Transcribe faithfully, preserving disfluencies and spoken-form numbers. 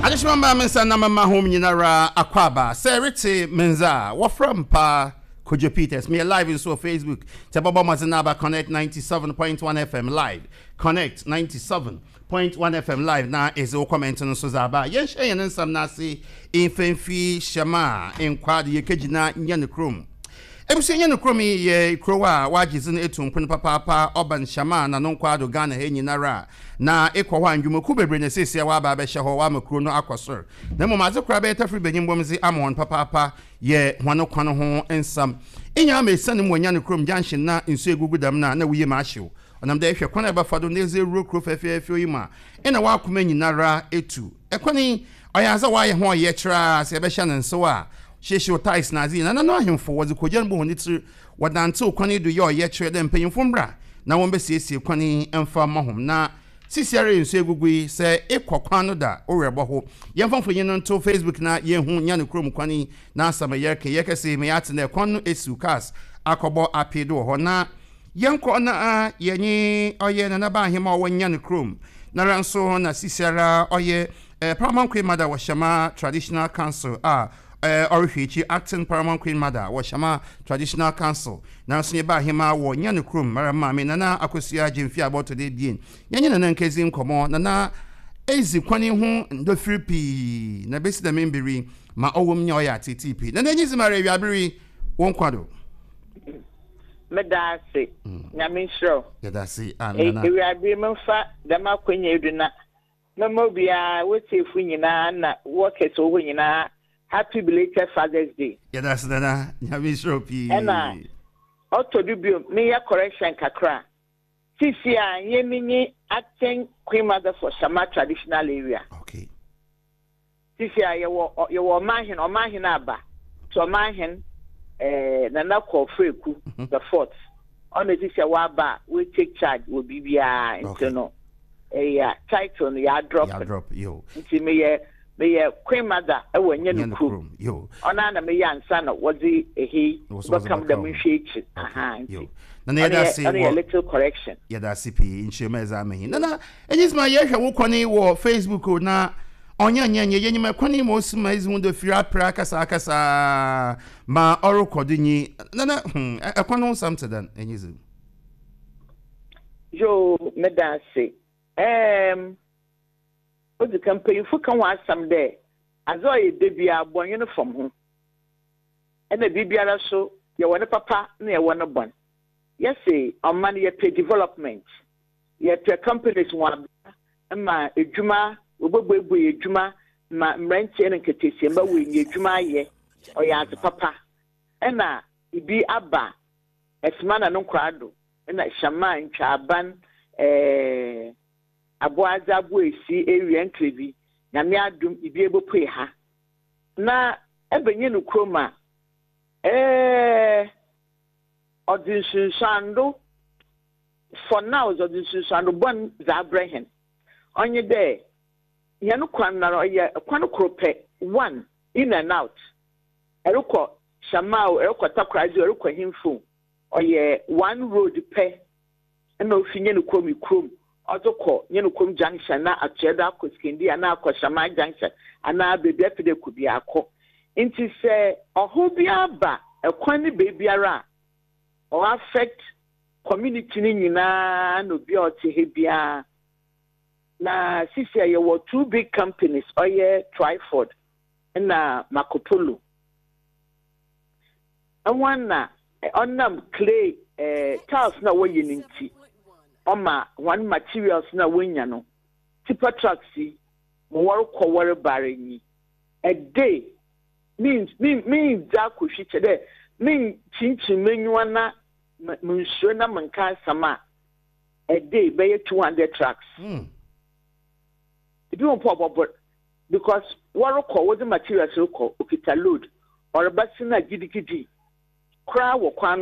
Adehyema maa me nsa na mama hom nyinara akwaaba sɛ rete me nza a wɔfrɛ m paa Kojo Peters. Meyɛ live nso wɔ Facebook sɛ bɔbɔ mmɔdzen na aba Connect ninety-seven point one F M live, Connect ninety-seven point one F M live, na ɛdze wo comment no nso dze aba. Yɛnhyɛ yɛn nsɛm no ase mfɛmfi hyɛm a nkwa de yɛkɛgyina nyɛ no kurom. Ebusua, nyɛ no kurom yi yɛ kurow a wagye dzin etu mpono papaapa ɔba nhyɛm a nano nkwa do Ghana ha nyinara, na ekɔ hɔ a ndwumakuw bebree na seesia waba abɛhyɛ hɔ wama kuro no akɔ soro. Na mmom adze koraa bɛyɛ tafiri benyin bɔm dze ama wɔn papaapa yɛ wɔn kwan ho nsɛm enya ama esiane mu wɔnya no kurom junction na nsuo egugu dɛm na na woyie ma ahyew ɔnam dɛ ehwɛ kwan a ɛbɛfa do na edze ewuro kuro fɛfɛɛfɛ yi mu a ɛna wakoma nyinara etu ɛkwan yi ɔyɛ adze a wayɛ ho ɔyɛ kyerɛ sɛ ɛbɛhyɛ ne nsew a hyehyɛ tiles na adze na nanu ahemfo wɔdze kogya no bɔ wɔn tiri wɔdantew kwan yi do yɛ ɔyɛ kyerɛ dɛ mpanyinfo mbra na wɔn bɛsiesie kwan yi mfa ma hom. Na sisiara nsuo egugu yi sɛ ekɔ kwan no da owurɛ bɔ ho. Yɛmfa mfonyin no nto Facebook na yɛnhu nya ne kurom kwan yi na asɛm yɛreka yɛkɛse mɛ yɛate na kwan no esiw cars akɔbɔ apee do wɔ hɔ. Na yɛnkɔ na yɛnye ɔyɛ nanaba ahema a ɔwɔ nya ne kurom nara nso na sisiara ɔyɛ eh, Paramount Queen Mother wɔ Shama Traditional Council a eh, ɔrehwɛ akyi, acting Paramount Queen Mother wɔ Shama Traditional Council, nanso yɛba ahema wɔ nya ne kurom mara maame Nana Akosua Gyemfi abɔtɔ de ebien. Yɛnyɛ Nana nkezi nkɔmmɔ. Nana ezi kwan ho ndɔfiri pii na besi dɛm mbiri ma ɔwɔ mu nya ɔyɛ atete pii. Nana, enyi zi mara awiabere wɔn kwa do. Meda ase, Nyame nhyira wo. Yɛda ase a, Nana. Ewiabere memfa dɛm akɔnya yi do na mɛma obiara wotiefo nyinaa na wɔkɛse wɔ hɔ nyinaa happy belated Father's Day. Yɛda ase, Nana, Nyame nhyira wo pii. Ɛna ɔtɔ do bio, meyɛ correction kakra. Sisi a nyɛ menyi acting queen mother for Shama Traditional Area. Okay sisi a yɛwɔ ɔ- yɛwɔ ɔmanhen ɔmanhen aba nti ɔmanhen ɛɛ Nana Kɔfreku the Fourth ɔna sisi a waba a we take charge wɔ biribiara nti Okay. no ɛyɛ title no yɛ drop. Yɛ drop yo. Nti meyɛ meyɛ queen mother ɛwɔ nyɛ nya no ne kurom. Kurom yo. Ɔno na meyɛ ansa na wɔdze ehe Wɔ so wɔdze bɛkam bɛka dɛm ho. nhwɛ ekyir aha yo nti Nana, ɔno yɛda yɛ ase ɔno yɛ wɔ little correction. Yɛda ase pii nkyerɛmu a ɛdze ama yi. Nana, enyi sima yɛhwɛ wo kɔne wɔ Facebook o na ɔnyɛ nyɛ nyɛ yɛnyim ɛkwan yi ma osi ma ezi ho do firi apere akasa akasa ma ɔrekɔ do nyi. Nana, hmm, ɛ- ɛkwan no ho nsɛm te dɛn, enyi zi? Yo, meda ase. ɛɛm odzi ka mpanyinfo ka ho asɛm dɛ adze a ɔyɛ da biara bɔnwe fam ho ɛna biribiara so yɛwɔ ne papa na yɛwɔ ne bɔn. Yɛse ɔman yɛpɛ development, yɛpɛ companies wɔn aba ma edwuma wɔbɛbuebue edwuma ma mmeranteɛ ne nketesiamba wɔnya edwuma ayɛ. Ɔyɛ adze papa. Ɛna ibi aba ɛsoma na no nkora do ɛna hyɛma ntwaban ɛɛ aboadze abo esi ewia nkrebi. Nyame adum ibi ebopue ha na ɛbɛnye no kurom a ɛɛ ɔdze nsunsuando. For now ɔdze nsunsuando bɔn dze abrɛ hɛn. Ɔnye dɛ hɛn kwan nara ɔyɛ kwan koro pɛ, one in and out. Ɛrekɔ Hyɛma o, ɛrekɔ Takoradi o, ɛrekɔ Hemfo, ɔyɛ one road pɛ ɛna ofi nye no kurom kurom ɔdze kɔ nye no kurom junction na atoɛ do akɔ Sikendi anaa akɔ Hyɛma junction anaa beebi afei dɛ kɔ bi akɔ. Nti sɛ ɔhaw bi aba ɛkwan ne beebiara a ɔ affect community no nyinaa na obi a ɔte ha biara. Na sisi a yɛwɔ two big companies, ɔyɛ Twyford na Marcopolo. Ɛho na ɔnam clay ɛɛ tiles na wɔyɛ ne nti ɔma wɔn materials na wɔnya no tipper trucks yi ma wɔrekɔ wɔrebare nyi a day mean mean mean dza akɔhwi kyɛ dɛ mean kyinkyin m'enyiwa na m nsuo na menka asɛm a a day bɛyɛ two hundred trucks. Mm. Ebi wɔn po ɔbɔbɔ because wɔrekɔ wɔdze materials rekɔ okita load ɔreba si na gidigidi koraa wɔ kwan no.